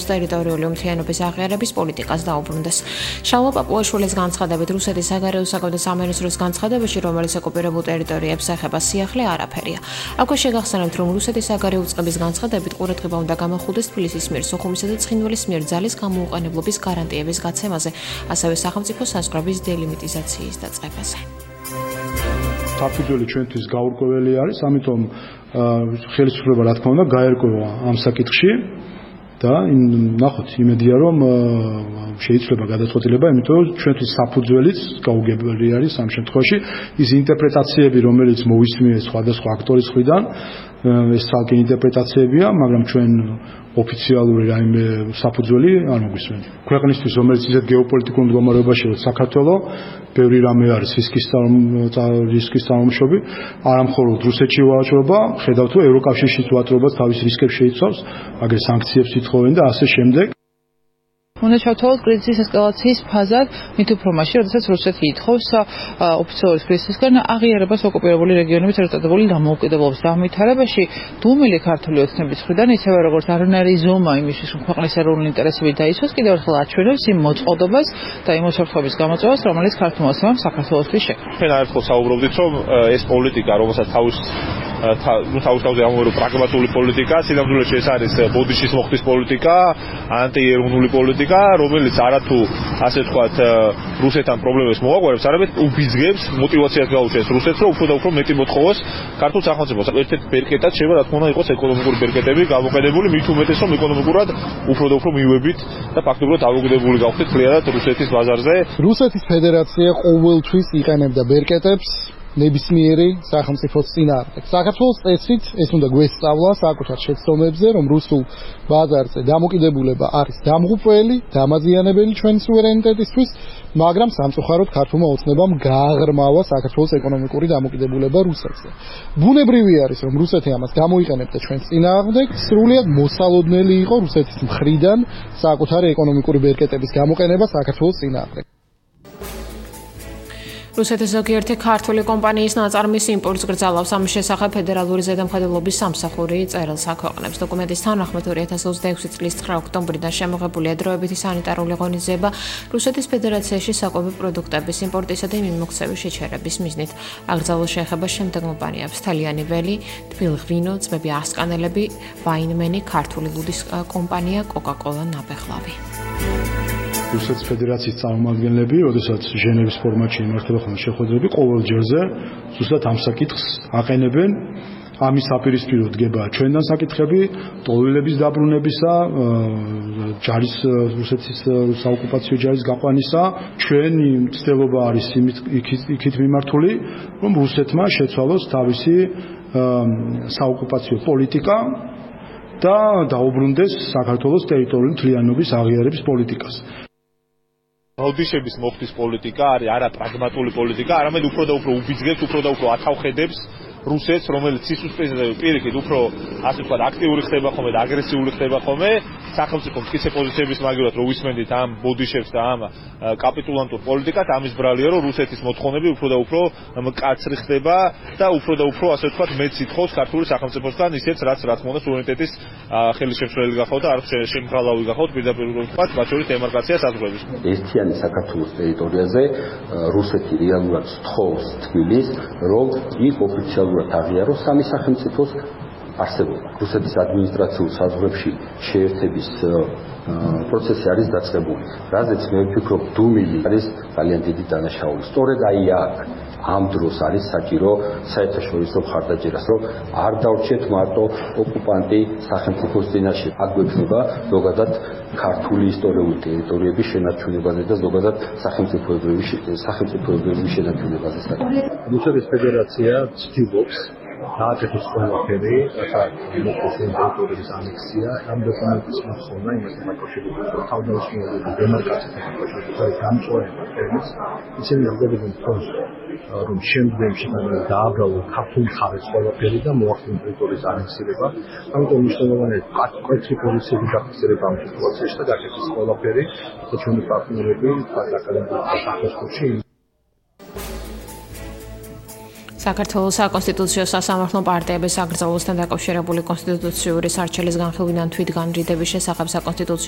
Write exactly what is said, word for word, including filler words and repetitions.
ტერიტორიული უმთიანობის აღიარების პოლიტიკას დაუბრუნდეს. შალვა პაპუაშვილის განცხადებით, რუსეთის საგარეო საქმეთა სამინისტროს განცხადებაში, რომელიც ოკუპირებულ ტერიტორიებს ეხება სიახლე, არაფერია. აქვე შეგახსენებთ, რომ რუსეთის საგარეო უწყების განცხადებით ყურადღება უნდა გამახვილდეს თბილისის მიერ სოხუმისა და ცხინვალის მიერ ძალის გამოუყენებლობის გარანტიების გაცემაზე, ასევე სახელმწიფო საზღვრების დელიმიტიზაციის დაწყებაზე. საფუძველი ჩვენთვის გაურკვეველი არის, ამიტომ ხელისუფლება რა თქმა უნდა გაერკვევა ამ საკითხში. და ნახოთ იმედია რომ შეიძლება გადაწყვეტილება, იმიტომ რომ ჩვენთვის საფუძველიც გაუგებრელი არის ამ შემთხვევაში ის ინტერპრეტაციები, რომელიც მოვისმინეთ სხვადასხვა აქტორის მხრიდან, ეს ცალკე ინტერპრეტაციებია, მაგრამ ჩვენ ოფიციალური რაიმე საფუძველი არ მოგვისმენთ. ქვეყნისთვის, რომელიც ისეთ გეოპოლიტიკურ მდგომარეობაში, რომ საქართველოს ბევრი რამე არის რისკის რისკის წარმოშობი, არა მხოლოდ რუსეთში ვაჭრობა, ხედავთ რომ ევროკავშირშიც ვაჭრობა თავის რისკებს შეიცავს, აგერ სანქციებს ითხოვენ და ასე შემდეგ. უნდა ჩავთვალოთ კრიზისის ესკალაციის ფაზად, მით უფრო მაშინ, როდესაც რუსეთი ითხოვს ოფიციალური კრიზისისგან აღიარებას ოკუპირებული რეგიონების ერთადებული დამოუკიდებლობის დამვითარებაში, დუმილი ქართული ოცნების მხრიდან, ისევე როგორც არანაირი ზომა იმისთვის, რომ ქვეყნის ეროვნული ინტერესები დაიცვას, კიდევ ერთხელ აჩვენებს იმ მოწყობილობას და იმ უსაფრთხოების გამოწვევას, რომელიც ქართულმა ოცნებამ საქართველოსთვის შექმნა. ჩვენ არაერთხელ საუბრობდით, რომ ეს პოლიტიკა, რომელსაც თავის თავის თავზე ამოვერო პრაგმატული პოლიტიკა, სინამდვილეში ეს არის ბოდიშის მოხდის პოლიტიკა, ანტიეროვნული პოლიტიკა, რომელიც არათუ ასე ვთქვათ რუსეთთან პრობლემებს მოაგვარებს, არამედ უბიძგებს მოტივაციას გაუჩენს რუსეთს, რომ უფრო და უფრო მეტი მოთხოვოს ქართულ სახელმწიფოს. ერთ-ერთი ბერკეტად შეიძლება რა თქმა უნდა იყოს ეკონომიკური ბერკეტები გამოყენებული, მით უმეტეს რომ ეკონომიკურად უფრო და უფრო მივებით და ფაქტობრივად დამოკიდებული გავხდით ძალიანად რუსეთის ბაზარზე. რუსეთის ფედერაცია ყოველთვის იყენებდა ბერკეტებს ნებისმიერი სახელმწიფოს წინააღმდეგ. საქართველოს წესით ეს უნდა გვესწავლა საკუთარ შეცდომებზე, რომ რუსულ ბაზარზე დამოკიდებულება არის დამღუპველი, დამაზიანებელი ჩვენი სუვერენიტეტისთვის, მაგრამ სამწუხაროდ ქართულმა ოცნებამ გააღრმავა საქართველოს ეკონომიკური დამოკიდებულება რუსეთზე. ბუნებრივი არის, რომ რუსეთი ამას გამოიყენებდა ჩვენს წინააღმდეგ, სრულიად მოსალოდნელი იყო რუსეთის მხრიდან საკუთარი ეკონომიკური ბერკეტების გამოყენება საქართველოს წინააღმდეგ. რუსეთის ზოგიერთი ქართული კომპანიის ნაწარმის იმპულს გრძელავს, ამის შესახებ ფედერალური ზედამხედველობის სამსახური წერილს აქვეყნებს. დოკუმენტის თანახმად ორი ათას ოცდაექვსი წლის ცხრა ოქტომბრიდან შემოღებული ადროებითი სანიტარული ღონისძიება რუსეთის ფედერაციაში საკვები პროდუქტების იმპორტისა და მიმოქცევის შეჩერების მიზნით. აკრძალვა შეეხება შემდეგ კომპანიებს: თელიანი ველი, თბილღვინო, ძმები ასკანელები, ვაინმენი, ქართული ლუდის კომპანია, კოკა-კოლა, ნაბეღლავი. რუსეთის ფედერაციის წარმომადგენლები, როდესაც ჟენევის ფორმატში იმართება ხოლმე შეხვედრები, ყოველ ჯერზე ზუსტად ამ საკითხს აყენებენ. ამის საპირისპირო დგება ჩვენთან საკითხები, ტოლვილების დაბრუნებისა, ჯარის რუსეთის საოკუპაციო ჯარის გაყვანისა. ჩვენი ცდილობა არის იქით მიმართული, რომ რუსეთმა შეცვალოს თავისი საოკუპაციო პოლიტიკა და დაუბრუნდეს საქართველოს ტერიტორიული მთლიანობის აღიარების პოლიტიკას. ბოდიშების მოხდის პოლიტიკა არის არა პრაგმატული პოლიტიკა, არამედ უფრო და უფრო უბიძგებს, უფრო და უფრო ათავხედებს რუსეთს, რომელიც სისუსტეზე პირიქით უფრო ასე ვთქვათ აქტიური ხდება ხოლმე და აგრესიული ხდება ხოლმე, სახელმწიფო მტკიცე პოზიციების მაგივრად რო ვისმენდით ამ ბოდიშებს და ამ კაპიტულანტურ პოლიტიკას, ამის ბრალია რომ რუსეთის მოთხოვნები უფრო და უფრო მკაცრი ხდება და უფრო და უფრო ასე ვთქვათ მეც ითხოვს ქართული სახელმწიფოსგან ისეც რაც რა თქმა უნდა სუვერენიტეტის ხელისშემშლელი გახავთ და არ შემღალავი გახავთ პირდაპირ ვთქვათ მათ შორის დემარკაცია საზღვრების. ერთიანი საქართველოს ტერიტორიაზე რუსეთი რეალურად სთხოვს თბილისს, რომ იქ ოფიციალურად აღიაროს სამი სახელმწიფოს არსებობა. რუსეთის ადმინისტრაციულ საზღვრებში შეერთების პროცესი არის დაწყებული. რაზეც მე ვფიქრობ, დუმილი არის ძალიან დიდი დანაშაული. სწორედ აი აქ ამ დროს არის საჭირო საერთაშორისო მხარდაჭერას, რომ არ დავრჩეთ მარტო ოკუპანტი სახელმწიფოს წინაშე. აქ გვექნება ზოგადად ქართული ისტორიული ტერიტორიების შენარჩუნებაზე და ზოგადად სახელმწიფოებრივი სახელმწიფოებრივი შენარჩუნებაზე. რუსეთის ფედერაცია ცდილობს დააკეთოს ყველაფერი, რათა მოხდეს ტერიტორიის ანექსია, ამ დოკუმენტის მოხსნა იმასთან დაკავშირებით, რომ თავდაუცნელობა დემარკაციასთან დაკავშირებით გამწვანება თემის, ისინი აღდებენ თქოს, რომ შემდგომში დააბრალოს ქართული მხარეს ყველაფერი და მოახდინოს ტერიტორიის ანექსირება. ამიტომ მნიშვნელოვანია მკვეთრი პოზიციები გაფიქსირება ამ სიტუაციაში და გაკეთდეს ყველაფერი, და ჩვენი პარტნიორები აკადემიკურ საფეხურში საქართველოს საკონსტიტუციო სასამართლო პარტიების აკრძალვასთან დაკავშირებული კონსტიტუციური სარჩელის განხილვიდან თვითგანრიდების შესახებ საკონსტიტუციო